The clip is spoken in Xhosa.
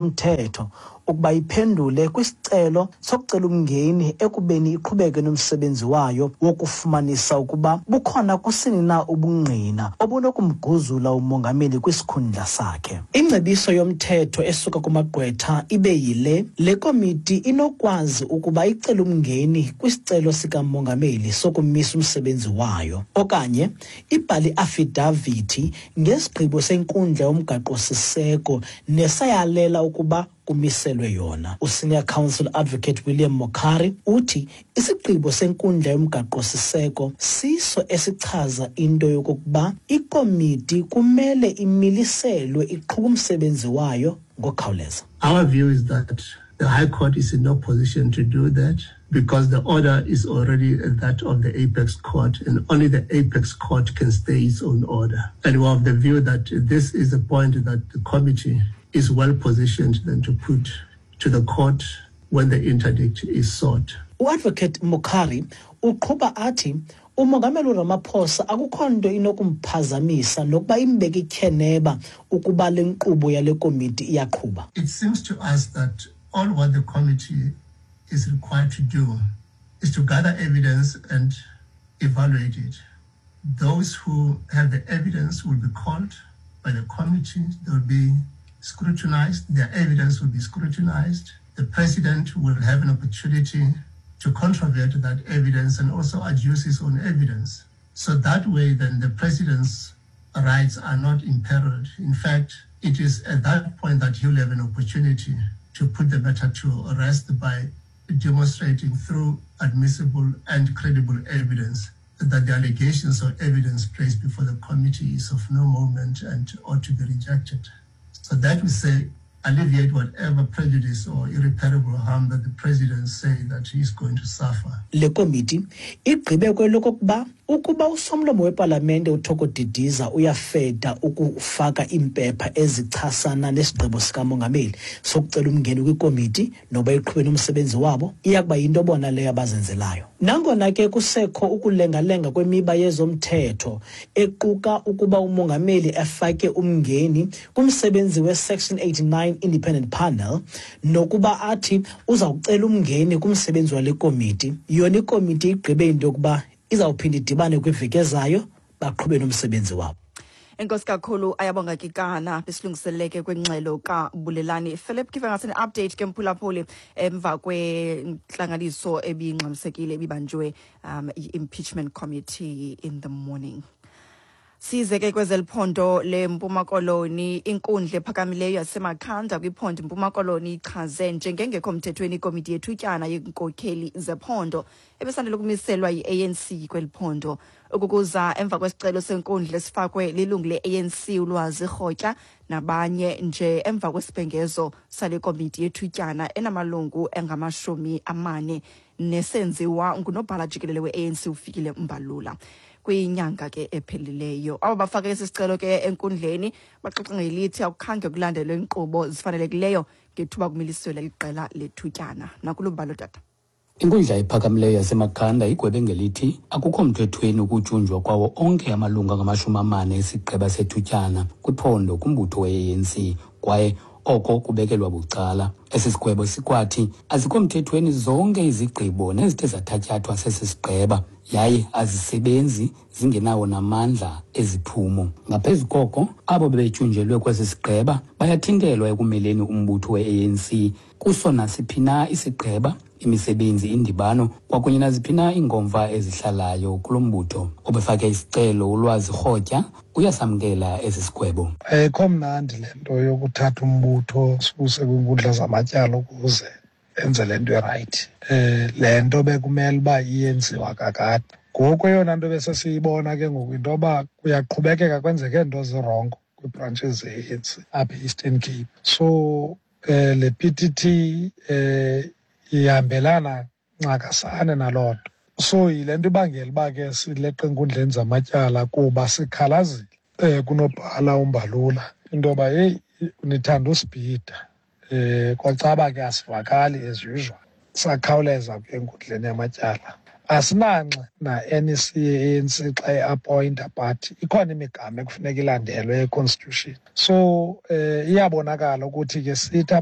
Mthetho ukuba iphendule kwisicelo sokucela umngeni ekubeni iqhubeke nomsebenzi wayo wokufumanisa ukuba bukhona kusini na ubungqina obunokumguzula umongameli kwisikhundla sakhe. Ingcebiso yomthetho esuka kumagqwetha ibe yile, le komiti inokwazi ukuba icele umngeni kwisicelo sikamongameli sokumisa umsebenzi wayo okanye ibhale iafidavithi ngesigqibo senkundla yomgaqo-siseko nesayalela ukuba kumiselwe yona. USenior Counsel Advocate William Mokhari uthi isigqibo senkundla yomgaqo-siseko siso esichaza into yokokuba ikomiti kumele imiliselwe iqhube umsebenzi wayo ngokukhawuleza. Our view is that the High Court is in no position to do that because the order is already that of the Apex Court, and only the Apex Court can stay its own order. And we have the view that this is a point that the committee is well positioned then to put to the court when the interdict is sought. UAdvocate Mokhari uqhuba athi uMongameli uRamaphosa akukho nto inokumphazamisa nokuba imbeke ityheneba ukuba le nkqubo yale komiti iyaqhuba. It seems to us that all what the committee is required to do is to gather evidence and evaluate it. Those who have the evidence will be called by the committee. They will be scrutinized. Their evidence will be scrutinized. The president will have an opportunity to controvert that evidence and also adduce his own evidence. So that way, then, the president's rights are not imperiled. In fact, it is at that point that he'll have an opportunity to put the matter to rest by demonstrating through admissible and credible evidence that the allegations or evidence placed before the committee is of no moment and ought to be rejected. So that we say alleviate whatever prejudice or irreparable harm that the president say that he is going to suffer. Le komiti igqibe kwelokokuba ukuba usomlomo wepalamente uThoko Didiza uyafeda ukufaka iimpepha ezichasana nesigqibo sikamongameli sokucela umngeni kwikomiti noba iqhube nomsebenzi wabo, iya kuba yinto bona leyo abazenzelayo. Nangona ke kusekho ukulengalenga kwemiba yezomthetho equka ukuba umongameli afake umngeni kumsebenzi we-Section 89 Independent Panel nokuba athi uza kucela umngeni kumsebenzi wale komiti, yona ikomiti igqibe into yokuba izawuphinda idibane kwiveki ezayo baqhube nomsebenzi wabo. Enkosi kakhulu, Ayabonga Kikana, besilungiseleke kwingxelo kaBulelani Philip. Give us an update ke, mphulaphuli, emva kwentlanganiso ebingxamisekile ebibanjwe i-impeachment committee in the morning. Size ke kwezeliphondo leMpuma Koloni. Inkundla ephakamileyo yaseMakhanda kwiphondo iMpuma Koloni ichaze njengengekho mthethweni ikomiti yethutyana yeenkokheli zephondo ebesandele ukumiselwa yi-ANC kweli phondo. Ukukuza emva kwesicelo senkundla esifakwe lilungu le-ANC uLwazi Rhotya nabanye nje emva kwesibhengezo sale komiti yethutyana enamalungu engama-40 nesenziwa ngunobhala jikelele we-ANC uFikile Mbalula kwinyanga ke ephelileyo. Abo bafake esi sicelo ke enkundleni baxoxa ngelithi akukhange kulandelwe inkqubo zifanelekileyo ngethuba kumiliselwa liqela lethutyana. Nakulubalo tata. Inkundla ephakamileyo yaseMakhanda igwebe ngelithi akukho mthethweni ukutyunjwa kwawo onke amalungu angama-40 esigqeba sethutyana kwiphondo kumbutho we-ANC, kwaye oko kubekelwa bucala. Esi sigwebo sikwathi azikho mthethweni zonke izigqibo nezithe zathatyathwa sesi sigqeba, yaye azisebenzi, zingenawo namandla eziphumo. Ngaphezu koko, abo bebetyunjelwe kwesi sigqeba bayathintelwa ekumeleni umbutho we-ANC kuso nasiphi na isigqeba, imisebenzi, indibano kwakunye naziphi na iinkomfa ezihlalayo kulo mbutho. Obefake isicelo uLwazi Rhotya uyasamkela esi sigwebo. Ayikho mnandi le nto yokuthatha umbutho suse kwiinkundla zamatyala ukuze enze le nto irayithi. Le nto bekumele uba iyenziwa kakade. Ngoku eyona nto besesiyibona ke ngoku yinto yoba kuyaqhubekeka kwenzeke nto zirongo kwii-branches ze-ANC apha e-Eastern Cape. So le PTT ihambelana ncakasane naloo nto. So yile nto ibangela uba ke sileqe enkundleni zamatyala, kuba sikhalazile kunobhala uMbalula into yoba heyi, nithanda usibhida. Kwacaba ke asivakali as usual. Sakhawuleza ke enkundleni yamatyala. Asinanxa na-NEC ye-ANC xa i-appointa, but ikhona imigama ekufuneka ilandelwe e-constitution. So iyabonakala ukuthi ke sithi